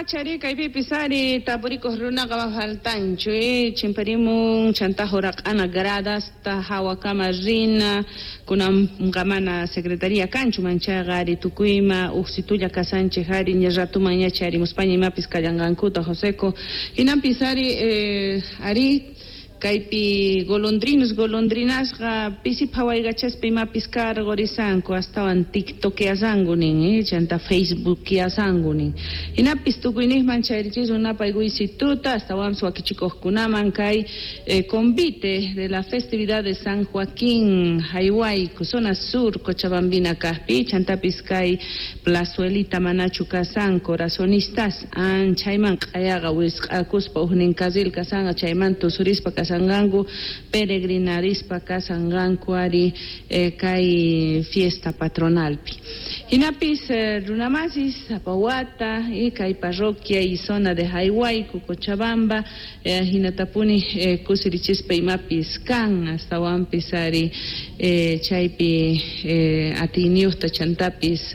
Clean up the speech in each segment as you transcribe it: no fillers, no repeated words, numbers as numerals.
Pachari kaypipis ari tapurikuq runaqa faltanchu, chimparimun chanta huraq'ana gradasta hawakama rina kunanqa mana secretaría kanchu manchayqa ari tukuyma uqsitulla kasanchik ari ña ratuman ña chayarimuspaña imapis kallanqankuta Joseco hinanpis ari ari kaypi golondrinos golondrinasqa pisi phawaykachaspa imapis karqurisanku astawan tiktokeasanku nin, chanta facebookeasanku nin hinapis tukuyniqman chayrichisun napaykuysituta astawanpis wakichikuqkunaman kay convite de la festividad de San Joaquín Jaywayku zona sur Cochabambina kaqpi chantapis kay plazuelita manachu kasan corazonistas anchayman q'ayaqa wisq'akuspa huknin carril kasanqa chayman tusurispa kasanqanku peregrinarispa kasanqanku ari kay fiesta patronalpi hinapis runamasis sapa wata kay parroquia y zona de Jaywayku Cochabamba hinatapuni kusirichispa imapis kan astawanpis ari chaypi atiyniyuqta chantapis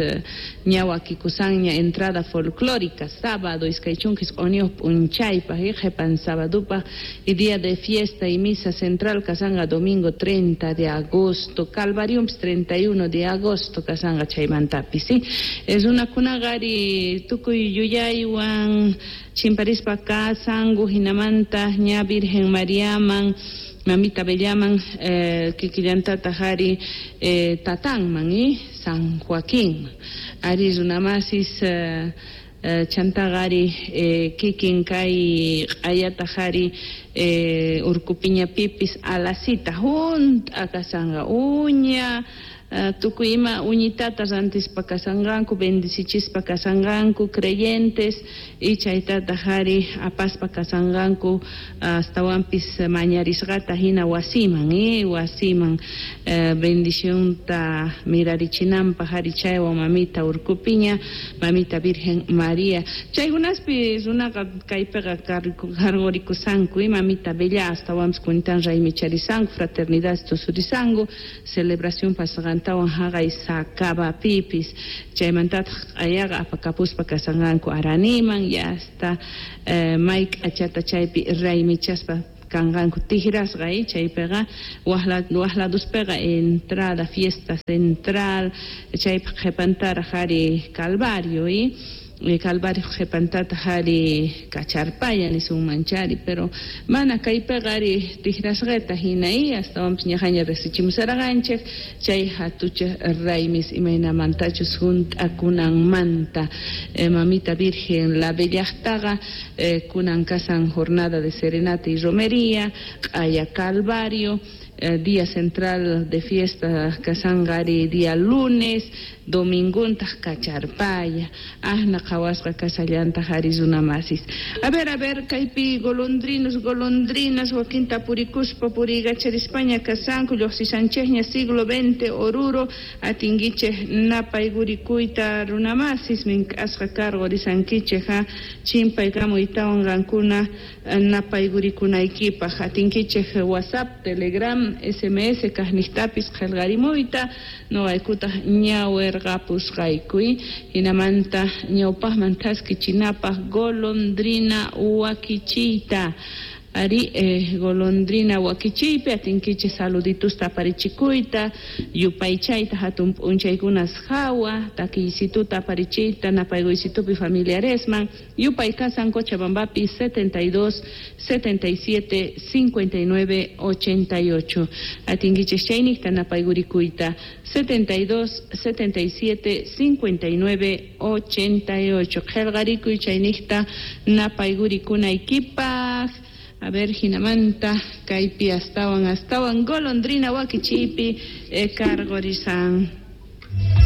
ña wakikusanña entrada folclórica sábado 29 p'unchaypaq qhipan sabadupaq y día de fiesta y misa central kasanqa domingo 30 de agosto Calvariompis 31 de agosto kasanqa chaymantapis, ¿sí? Runakunaqa ari tukuy yuyaywan chimparispa kasanku hinamanta ña Virgen Mariaman Mamita Bellaman kikillantataq ari tatanman San Joaquín ari runamasis chantaqa ari kikin kay q'ayataq ari urkupiñapipis alasita hunt'a kasanqa uña tukuy ima uñitata rantispa kasanqanku bendicichispa kasanqanku creyentes y chaytataq ari apaspa kasanqanku astawanpis mañarisqata hina wasiman wasiman bendicionta mirarichinanpaq ari chaywan mamita urkupiña mamita Virgen María chaykunaspi runaqa kaypiqa karqurikusanku mamita Bella astawanpis kuntan raymicharisanku fraternidad tusurisanku celebración pasqantawan haqay sakabapipis chaymantataq q'ayaqa apakapuspa kasanqanku araniman y hasta may k'achata chaypi raymichaspa kanqanku tigrasqa chaypiqa waqladuspiqa entrada fiesta central chaypaq qhipantaraq ari Calvario Calvario qhipantataq ari kacharpaya nisunmanchari pero mana kaypiqa ari tigrasqata hina astawanpis ñaqaña riqsichimusarqanchik chay hatucha raymis imaynamantachus hunt'akunanmanta mamita Virgen la Bellaqtaqa kunan kasan jornada de serenata y romería q'aya Calvario día central de fiesta kasanqa ari día lunes dominguntaq kacharpaya ahna qhawasqa kasallantaq ari runamasis a ver kaypi golondrinos golondrinas wakinta purikuspa puriykacharispaña kasanku lluqsisanchikña siglo XX Oruro atinkichik napaygurikuyta runamasis mink'asqa karqurisankichik chimpaykamuytawan qankuna napaygurikunaykipaq atinkichik WhatsApp, Telegram, SMS kaqniqtapis qillqarimuyta nuqaykutaq ñawirqapusqaykuy hinamanta ñawpaqman thaskichinapaq golondrina wakichiyta ari golondrina wakichiypi atinkichik saluditusta aparichikuyta yupaychayta hatun p'unchaykunas hawa takiysituta aparichiyta napaykuysitupi familiaresman yupay kasan Cochabambapi 72 77 59 88 atinkichik chayniqta napaygurikuyta 72 77 59 88 qillqarikuy chayniqta napaygurikunaykipaq. A ver, hinamanta kaypi astawan astawan golondrina wakichiypi karqurisan.